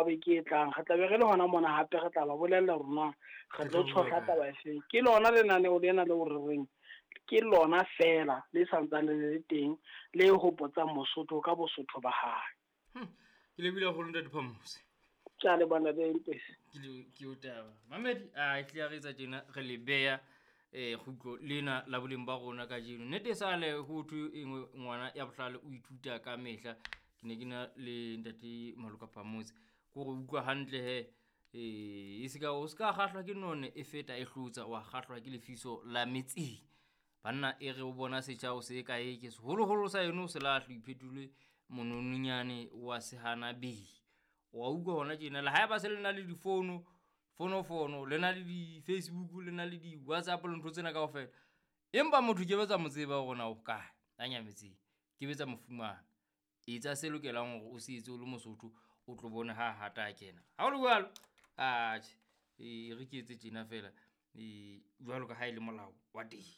wa beke e tlang re tla be re le hona mona hape re tla ba bolella hore na re tlo tshohla taba efeng. Ke lona lenaneo lena leo re reng ke lona feela le santsane le le teng le hopotsang Mosotho ka Bosotho ba hae. Ke lebile haholo ntate Phamose. Ke a leboha ntate Mpesi. Ke o taba. Mamedi a e tle re etsa tjena re le beya kgutlo lena la boleng ba rona kajeno. Nnete sale ho thwe e nngwe ngwana ya bohlale o ithuta ka mehla. Ke ne ke na le ntate Maloka Phamose. Ke hore utlwa hantle he e seka o ska kgahlwa ke none e feta e hlotsa, wa kgahlwa ke lefiso la metseng. Banna e re o bona setjha o se kae ke seholoholo sa eno o se lahle o iphetole monononyane wa sehana bee. Wa utlwa hona tjena le haeba se le na le difono, fonofono, le na le di-Facebook, le na le di-WhatsApp le ntho tsena kaofela. Empa motho ke betsa mo tseba hore na o kae, a nyametseng. Ke betsa mo fumana. Etsa se lokelang hore o se etse o le Mosotho, o tlo bone ha hata a kena. Ha o le jwalo, atjhe, e re ke etse tjena feela, jwalo ka ha e le molao wa teng.